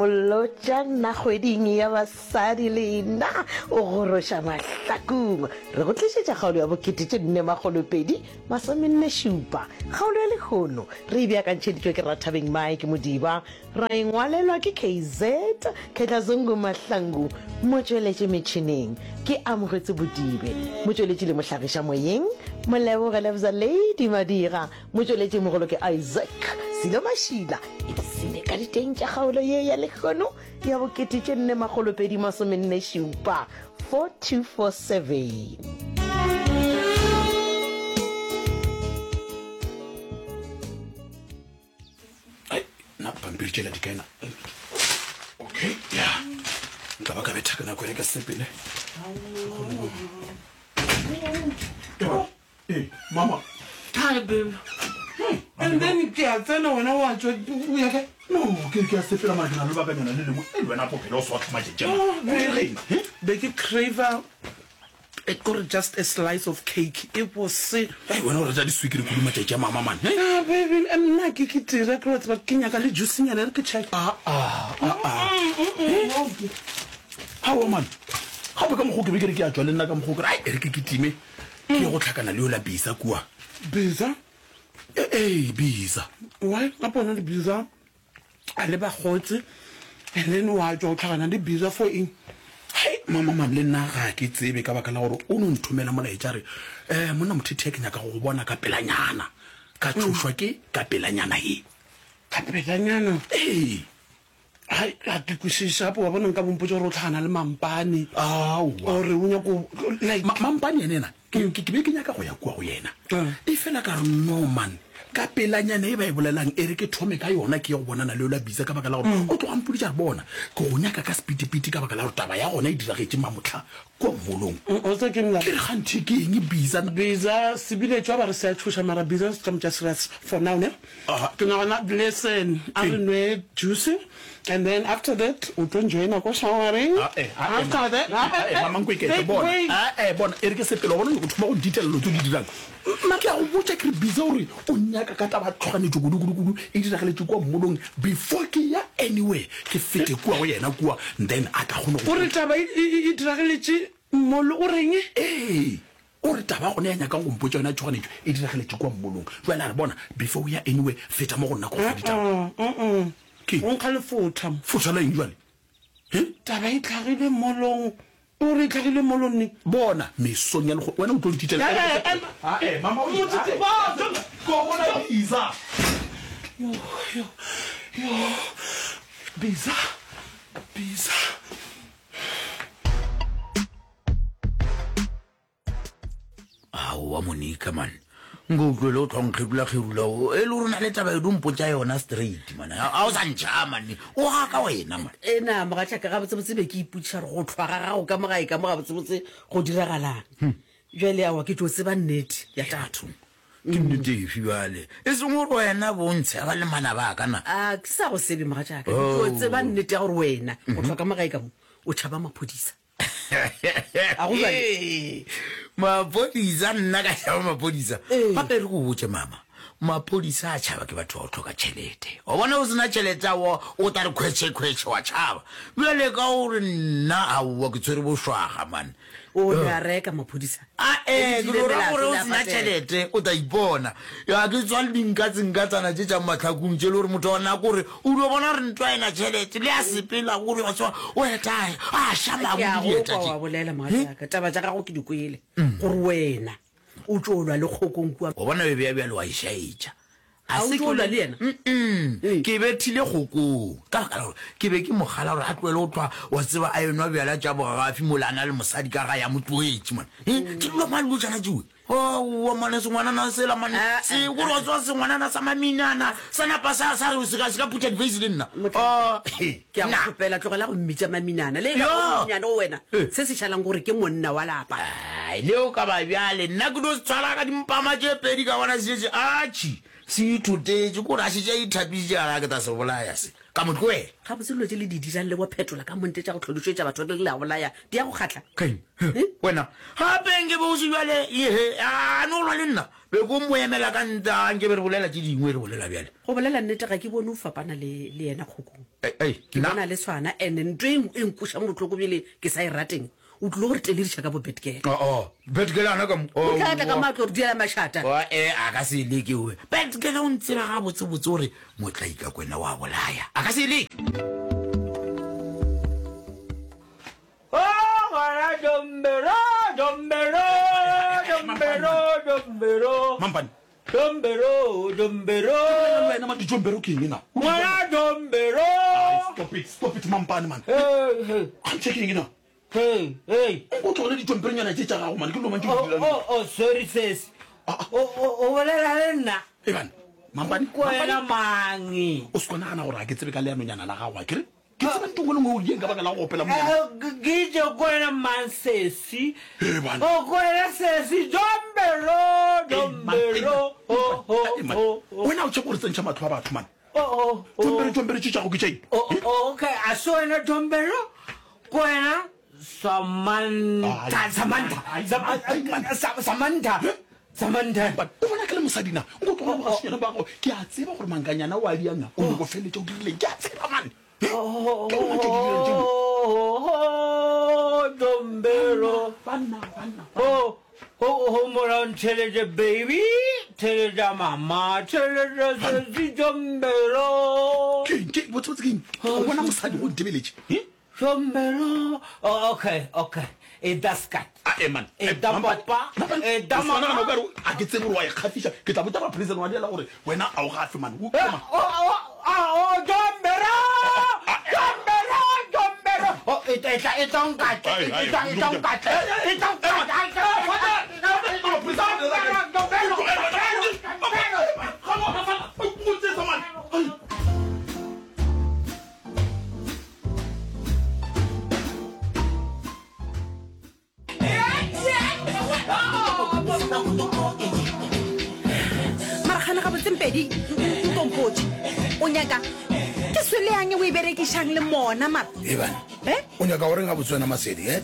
Molotšana kgweding ya basadi lena o goroša mahlakong. Re go tlišetša kgaolo ya bokete tše nne makgolo pedi masomenne šupa. Kgaolo ya lehono re e beakantšheditšwe ke Rathabeng Mike Modiba, ra e ngwalelwa ke KZ Khetlazungu Mahlangu, motšweletši metšhineng ke Amogetse Bodibe, motšweletši le mohlagiša moyeng Moleboge Lebza Lady Madira. Motšweletši mogolo ke Isaac Silo Mašila. Ipsene ka diteng tša kgaolo ye ya lehono ya bokete tše nne makgolo pedi masomenne šupa, 4247. Ai, na pampiri tšela di kaena okay ya nka ba ka betha ka nako e ka sepele Ee, mama. Hi, babe. And then ke a tsena wena wa tšwa o ya kae? No, ke ke a sepela mara ke na le lebakanyana le lengwe. Ei, wena bophelo o sotla matšatši a. Oh, babe. He? Be ke craver e kore just a slice of cake e bose. Ei, wena o rata diswikiri kudu matšatši a mama man. He? Ah, baby, nna ke ke tira ke wa tseba ke nyaka le juice nyana e re ke check. Ah ah, ah ah. He? Aowa man. Gape ka mokgwa o ke be ke re ke a tšwa le nna ka mokgwa o ke re ai e re ke kitime. Ke ye go hlakana le yola Bisa kua. Bisa? Ee, Bisa. Why? Gape wena le Bisa a le bakgotse and then wa tšwa o hlakana le Bisa for eng? Hei, mama man, le nna ga ke tsebe ka baka la gore o no nthomela molaetša a re, um monna Mothethea ke nyaka go go bona ka pelanyana. Ka tšhošwa ke ka pelanyana ye. Ka pelanyana? Ee. Hai, ga ke kwešiše gape wa bona nka bompotša gore o tlhagana le Mampane. Aowa. Ore o nyako like. Ma, Mampane yena ena, ke, ke, ke be ke nyaka go ya kua go yena. E fela ka re, no man, ka pelanyana e ba e bolelang, e re ke thome ka yona ke ye go bonana le yola Bisa ka baka la gore o tloga mpoditše a re, bona, ke go nyaka ka sepitipiti ka baka la gore taba ya gona e diragetše mamohla kua mmolong. O tseba ke eng Ke re kganthe ke eng Bisa? Bisa, sebiletšwa ba re se a tšhoša mara Bisa se tla mo tša serious for now ne. Ke nagana listen, a re nwe juice and then after that o tlo njoina ko showereng. After that, Mamankwe bona, ae bona, e re ke sepele, wa bona o nyaka go thoma go ntitela dilo tse o di dirang. Nna ke a go botša ke re busy gore o nnyaka ka taba ya tšhoganetšo kudu kudu kudu e diragaletše kua mmolong before ke ya anywhere ke fete kua go yena kua then a tla kgone go. O re taba e diragaletše mmolong, o reng? Ee. O re taba gona ya nyakang go mpotša yona ya tšhoganetšo e diragaletše kua mmolong. Bjale a re, Bona, before o ya anywhere, feta mo go nna ke go fe ditaba. Ke eng? O nkga lefotha mo. Fotha la eng bjale? He? Taba e hlagile mmolong. O re e hlagile mmolong neng? Bona, mesong ya lehono. Wena o tlo ntitela. Ae, mama o Motsotso, ae, ko bona Biza. Yo, yo, yo. Biza, Biza. Aowa Monica man, nko o tlohele o tlwa nkgerula kgerula o e le gore o na le taba e di mpotša yona straight man, a o sa ntšha man, o gaka wena man. E na mogatšaka, gabotsebotse be ke ipotšiša gore go hlwa ga gago ka mo gae ka mo gabotsebotse go diragalang. Bjale aowa ke tlo tseba nnete ya taba. Bathong, ke nnete efe bjale? E seng gore wena bo ntsheba le manaba a ka na? A ke sa go sebe mogatšaka, ke tlo tseba nnete ya gore wena go hlwa ka mo gae ka mo o tšhaba maphodisa. A go bjale? Maphodisa, nna ka tšhaba maphodisa. Gape re go botše mama, maphodisa a tšhaba ke batho ba go hloka tšhelete. Wa bona o sena tšhelete aowa o tla re khwetšhe khwetšhe wa tšhaba. Bjale ka gore nna aowa ke tshwere bošwaga man. O re a reka maphodisa. Ae, ke no ra gore o sena tšhelete o tla ipona. Ya ke tswa le dinkatsenkatsana tše tša mahlakong tše le gore motho wa nako gore o dio bona gore ntwa ena tšhelete le a sepela gore wa tswa o eta a ša Ke a mabu go dieta kwa tše. wa bolela mogatšaka, taba tša gago ke di kwele gore wena o tšo lwa le kgokong kua. Wa bona bebe ya bjale wa e šaetša. A o tšo lwa le yena? Mm-mm. Ke bethile kgokong ka baka la gore ke be ke mo kgala gore a tlohele go hlwa wa tseba a enwa bjala tša bogafi mola a na le mosadi ka gae a mo tlogetše man. He, ke dilo mang dilo tšana tšewe? Aowa mane sengwanana sela mane se gore wa tseba sengwanana sa maminana sa napa sa sa re se ka se ka phutha diface le nna. Motlhaka, Ah, he, ke a go nna. kgopela tlogela go mmitša maminana le e ka Yo. ba monnyane go wena Eh. se se šalang gore ke monna wa lapa. Ai, le o ka ba bjale nna ke tlo se tshwara ka dimpama tše pedi ka bona se šetše atšhi se ithotetše kore a šetše a ithapišitše a ra ke tla se bolaya se ka mo tlohela. Gabotse dilo tše le di dirang le bo phetola ka monte tša go hlodišetša batho le le a bolaya di a go kgahla? Keng? Wena gape nke be o se bjale ehe a no lwa le nna. Be ko mo emela ka ntle, nke be re bolela tše dingwe, re bolela bjale. Go bolela nnete ga ke bone o fapana le, le yena Kgokong. Ei, ei, Ke nna. bona le tshwana, and ntho e, e nkwešang bohloko bjale ke sa e rateng, o tlilo go re telediša ka bo Betgirl. Oh, oh, Betgirl ana ka mo. O tla tla ka mo a tlo re diela mašata. Oh, eh, a ka se e leke oe. Betgirl o ntseba gabotsebotse gore motlaikakwena wa bolaya. A ka se e leke. Oh, ngwana Dombero, Dombero, Dombero, Dombero. Mampane. Dombero, Dombero. Le wena man, dijombero ke eng na? Ngwana Dombero. Ai, stop it, stop it Mampane man. Hey, hey. Kganthe ke eng na? Hey, hey. O tlogele dijomberonyana tše tša gago man, ke dilo mang tše di Oh, dirang? oh, oh, sorry sis. Ah, ah. O, o, o bolela le nna. E bana, Mampane, Ko wena Mampane. mang? O se ko nagana gore ga ke tsebe ka leanonyana la gago, akere? Ke tseba ntho nngwe le nngwe o dieng ka baka la go opela monyana. Eh, ke itše ko wena mang sesi? Ee, bana. O ko wena sesi, Dombero, Dombero, ho, ho, ho, ho. Wena o tšhaba gore tsentšha matlho a batho man. Oh, oh, oh. Jombero, jombero tše tšago ke tša eng? Oh, oh, okay, a se wena Dombero? Ko wena Samantha, Samantha, Samantha, Samantha. O bona ke le mosadi na? Nko tloga bogasenyana ba gago. Ke a tseba gore mankanyana o a dianga. O nyoko feletša o dirileng. Ke a tseba man. Ke lona tše di dirang tšeo. Oh, Dombero. Banna, banna. Oh, oh, oh, mola ntheletše baby, theletša mama, theletša sesi Dombero. Ke eng? Ke botse botse ke eng? O bona mosadi o ntebeletše. Eh? Hlombelo. Oh, okay, okay. E da skat. Ah, eh, man. E da papa. E da mama. Nagana o ka re a ke tsebe gore wa ikgafiša. Ke tla botša ba prison wa diela gore wena a o gafe man. O Eh, oh, oh, ah, oh, Dombero! Dombero, Dombero. Oh, e tla, e tla, e tla nkatle, Ai, ai, e tla, e tla nkatle, e tla nkatle, e tla nkatle. Dombero, Dombero, Dombero. Mara gane gabotse Mpedi nkompotše o nyaka ke swele yang o e berekišang le mona mara Ebane Eh? o nyaka goreng gabotse wena Masedi eh?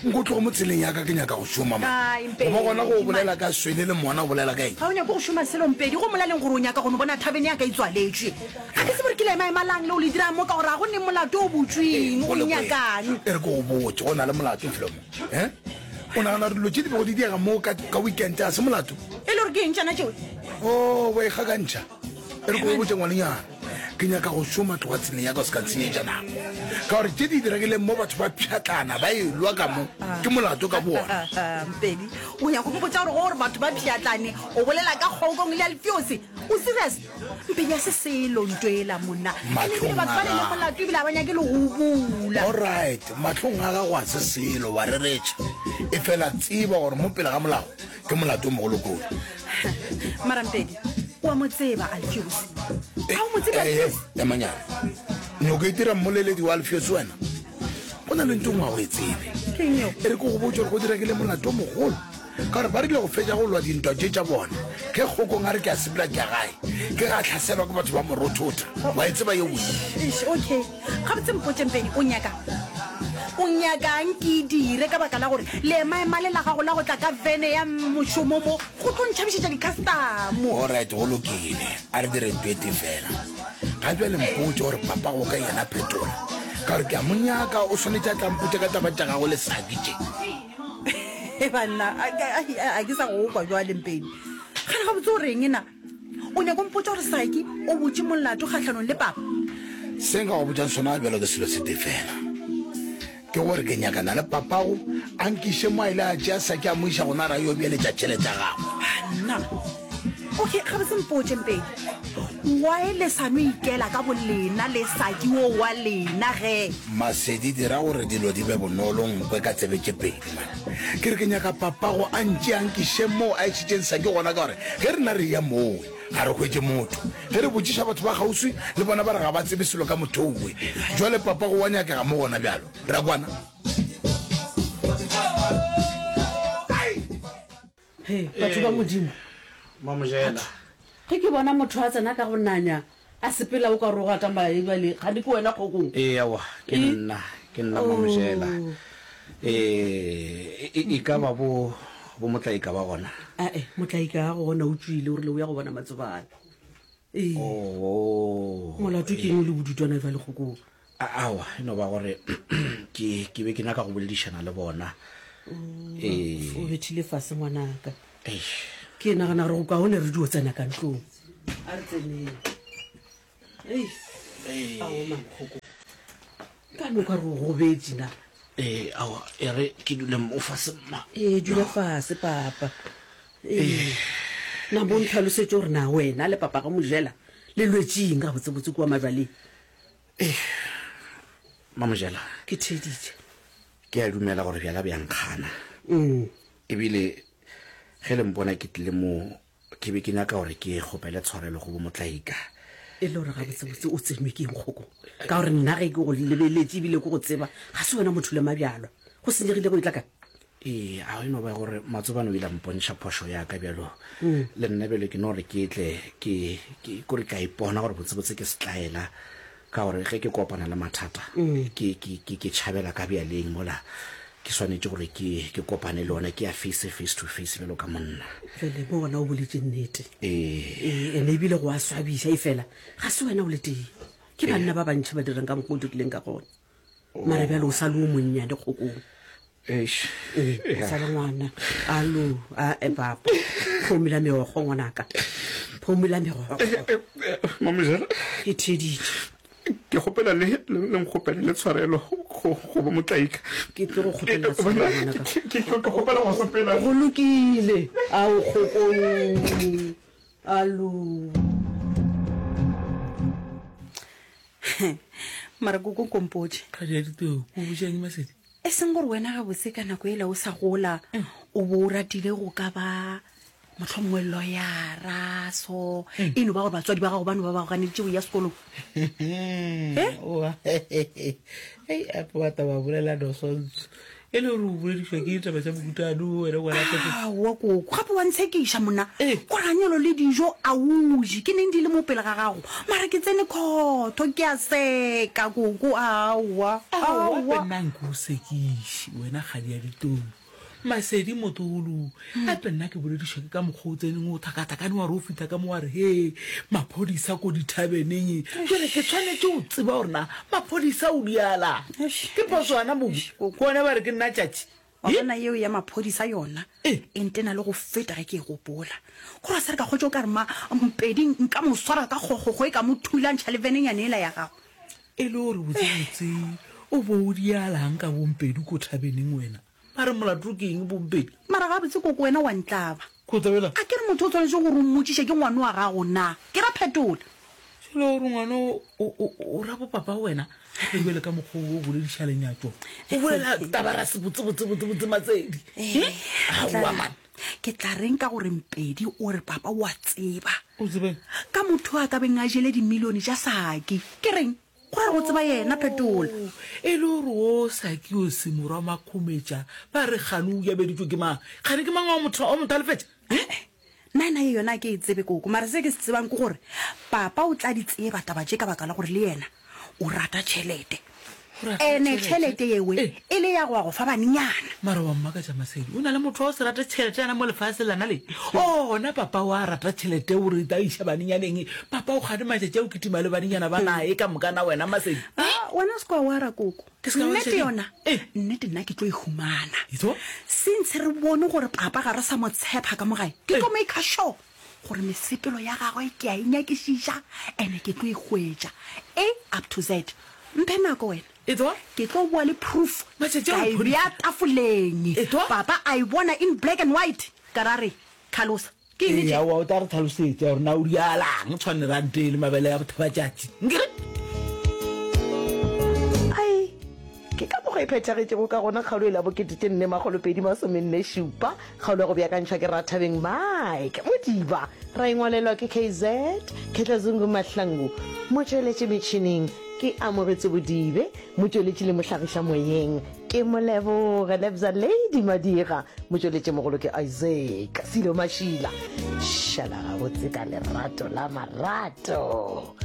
Nko tlogo mo tseleng ya ka ke nyaka go šoma man. Ai, Mpedi, Goba gona go man. bolela ka swele le mona o bolela ka eng? Ga o nyake go šoma selo Mpedi, go molaleng gore o nyaka go no bona thavene ya ka e tswaletšwe. Ga ke tsebe gore ke leemaema lang leo le dirang mo ka gore ga go neng molato o butšweng, o Go le nyakang? E re ke go botše, go na le molato Flomo. Eh? O nagana gore dilo tše di bego di diega mo ka, ka weekend ga se molato? E le gore ke eng tšona tšeo? Oh, wa ikgakantšha. E re ke go botše ngwanenyana, ke nyaka go šoma, tloga tseleng ya ka o se ka ntshenyetša nako. Ka gore tše di diregileng mo batho ba pšhatlana ba elwa ka mo, ke molato ka bowona. Mpedi, o nyaka go mpotša gore go gore batho ba pšhatlane o bolela ka Kgokong le Alfiose? O serious? Mpedi a se selo nto ela monna. And ebile Mahlong batho a ba ne le gago. molato ebile ga ba nyake le go o bula. Alright, mahlong a gago a se selo, wa reretša. Efela tseba gore mo pele ga molao Ke molato o mogolo kudu. Marampedi, o a mo tseba Alfios. A o mo tsebe Eh, eh, Alfios? emanyana. Nyoko e dira mmoleledi wa Alfios wena. Go na le nto nngwe ga o e tsebe. Ke eng eo? E re ke go botse gore go diregile molato o mogolo. Ka gore ba rile go fetša go lwa dintwa tše tša bona. Ge Kgokong a re ke a sepela ke ya gae, ke ga hlaselwa ke batho ba morothotha. Wa e tseba yeo? Eish, okay. Gabotse mpotše Mpedi, o nyakang? O nyakang ke e dire ka baka la gore leemaema le la gago la go tla ka vene ya mošomo mo go tlo ntšhabišetša dikhastamo? Alright, go lokile. A re dire ntho e tee fela. Ga bjale mpotše gore papago ka yena Phetola, ka gore ke a mo nyaka, o swanetše a tla mpotša ka taba tša gagwe le Saki tše. He banna, a ke sa go kwa bjale Mpedi. Gane gabotse o reng na? O nyaka o mpotša gore Saki o butše molato kgahlanong le papa? Se nka go botšang sona bjalo ke selo se tee fela, ke gore ke nyakana le papago a nkiše mo a ile a tšea Saki a mo iša gona ra yo beeletša tšhelete ya gagwe. Banna! Okay, gabotse mpotše Mpedi, why le sa no ikela ka bolena le Saki wo wa lena ge? Masedi, dira gore dilo di be bonolo, nkwe ka tsebe tše pedi man. Ke re ke nyaka papago a ntšee a nkiše moo a išitšeng Saki gona ka gore ge rena re eya mowe ga re hwetše motho. Ge re botšiša batho ba kgauswi le bona ba re ga ba tsebe selo ka motho owe. Jwale papago wa nyakega mo gona bjalo. Re a kwana? He, batho ba Modimo. Mamojela. Ge ke bona motho a tsena ka go nanya, a sepela o ka re o gata mae bjale, kgane ke wena Kgokong? Ee, aowa, ke nna, ke nna Mamojela. Ee, e, e ka ba bo. Bo Motlaika ba gona? Ae, Motlaika ga go gona o tšwile, o rile o ya go bona Matsobane. Ee. Oh. Molato ke eng o le bodutwana bjale Kgokong? Aowa, e no ba gore ke ke be ke nyaka go boledišana le bona. Ee. O bethile fase ngwanaka. Eish. Ke nagana gore go kaone re dio tsena ka ntlong. A re tseneng. Ei. Ao man Kgokong. Ka no ka re o gobetše na? Ee, aowa, e re ke dule mo fase mma. Ee, dula fase papa. Ee. Na mo ntlhalosetše gore na wena le papa ga Mojela le lwetše eng gabotsebotse kua majwaleng? Ee, Mamojela. Ke theeditše. Ke a dumela gore bjala bja nkgana. Ebile ge le mpona ke tlile mo, ke be ke nyaka gore ke kgopele tshwarelo go boMotlaika. E le gore gabotsebotse o tsenwe ke eng Kgokong? Ka gore nna ge ke go lebeletše ebile ke go tseba, ga se wena motho le mabjalwa. Go senyegile go etla kae? Ee, a e no ba gore Matsobane o ile a mpontšha phošo ya ka bjalo. Le nna bjalo ke no re ke tle ke, ke, kore ke a ipona gore botsebotse ke setlaela, ka gore ge ke kopana le mathata, ke, ke, ke, ke tšhabela ka bjaleng mola ke swanetše gore ke, ke kopane le ona, ke a face, face to face bjalo ka monna. Bjale mo gona o boletše nnete. Ee. Ee, ene ebile go a swabiša, efela ga se wena o le tee. Ke banna ba bantši ba dirang ka mokgwa o dirileng ka gona. Mara bjale o sa le o monnyane Kgokong. Eish. Ee, o sa le ngwana. Alo, a e papa. Phomula meokgo ngwanaka. Phomula meokgo. Mamojela. Ke theeditše. Ke kgopela le le nkgopele le tshwarelo go go bo motlaika. Ke tlo go kgopelela tshwarelo ngwanaka. Ke ke kgopela go sepela. Go lokile. Ao Kgokong. Alo. Mara koko nkompotše. Kgadi ya diteu, o botša eng Masedi? E seng gore wena gabotse ka nako ela o sa gola o bo o ratile go ka ba mohlomongwe loyara so e no ba gore batswadi ba gago ba no ba ba go ganeditše go ya sekolong. Oa hei ape wa taba bolela nosonso e le gore o boledišwa ke ditaba tša mokutano wena ngwana Aowa koko gape wa ntshekiša monna koranyelo le dijo a o je ke neng di le mo pele ga gago mara ke tsene khotho ke a seka koko aowa Aowa aowa. nna nko o sekiše wena kgadi ya ditou Masedi motolo gape nna ke boledišwa ke ka mokgwa o tseneng o thakathakane wa re o fihla ka mo wa re he maphodisa ko dithabeneng jale ke tshwanetše go tseba gore na maphodisa o diala ke phoso ana mobu ke one ba re ke nna tšatši Wa bona yeo ya maphodisa yona e ntena le go feta ge ke e gopola. Gore a se re ka kgotša o ka re ma Mpedi nka mo swara ka kgokgokgo e ka mo thulantšha le venenyane yela ya gago. E le gore botsebotse o bo o dialang ka boMpedi ko thabeneng wena? Ba re molato ke eng boMpedi? Mara gabotse koko wena wa ntlaba. Ko tlabela? A ke re motho o tshwanetše gore o mmotšiše ke ngwano wa gago na? Ke ra phetola. Jale o re ngwana o, o, o, o ra bopapa wena? Gape bjale ka mokgwa o o bolediša lenyatšo. O bolela taba ra se botse botse botse botse Matsedi. Eh, Aowa man. Ke tla reng ka gore Mpedi o re papa o a tseba. O tsebeng? Ka motho a ka beng a jele dimilione tša Saki. Ke reng? Go ra go tseba yena Phetola. Oh, e le gore o Saki o se morwa Makhumetša ba re kgane o yabeditšwe ke mang? Kgane ke mang wa motho wa mothalefetša? Eh, nna ena ye yona ke e tsebe koko, mara se ke se tsebang ke gore papa o tla di tseba taba tše ka baka la gore le yena o rata tšhelete. Ene tšhelete yewe e le ya go ya go fa banenyana. Mara wa mmakatša Masedi, o na le motho wa go se rate tšhelete yana mo lefaseng lana le? Ona papa wa rata tšhelete o re ta iša banenyaneng. Papa o kgane matšatši a o kitima le banenyana ba nae ka moka na wena Masedi? Ah, wena o se ka wa wara koko. Ke se ka wa Nnete eng? yona, Eh. nnete nna ke tlo e humana. Itho? Since re bone gore papa ga re sa mo tshepa ka mo gae, ke tlo maker sure gore mesepelo ya gagwe ke a e nyakišiša ene ke tlo e hwetša A up to Z. Mphe nako wena. Etwa? Ke tlo boa le proof Matšatši a ka e go bea tafoleng. Etwa? Papa a e bona in black and white. Ka ra re, Tlhalosa. Ke eng Ee, tše? aowa, o tla re tlhalosetša gore na o dialang tshwane rante le mabele a bothabatšatši. Nkere? Ai, ke ka mokgwa e phethagetšego ka gona kgaolo e la bokete tše nne makgolo pedi masomenne šupa, kgaolo ya go beakantšhwa ke Rathabeng Mike Modiba, ra e ngwalelwa ke KZ Khetla Zungu Mahlangu, motšweletši metšhineng ke Amogetse Bodibe, motšweletši le mohlagiša moyeng ke Moleboge Lebza Lady Madira, motšweletšimogolo ke Isaac Silo Mašila. Šala gabotse ka lerato la marato.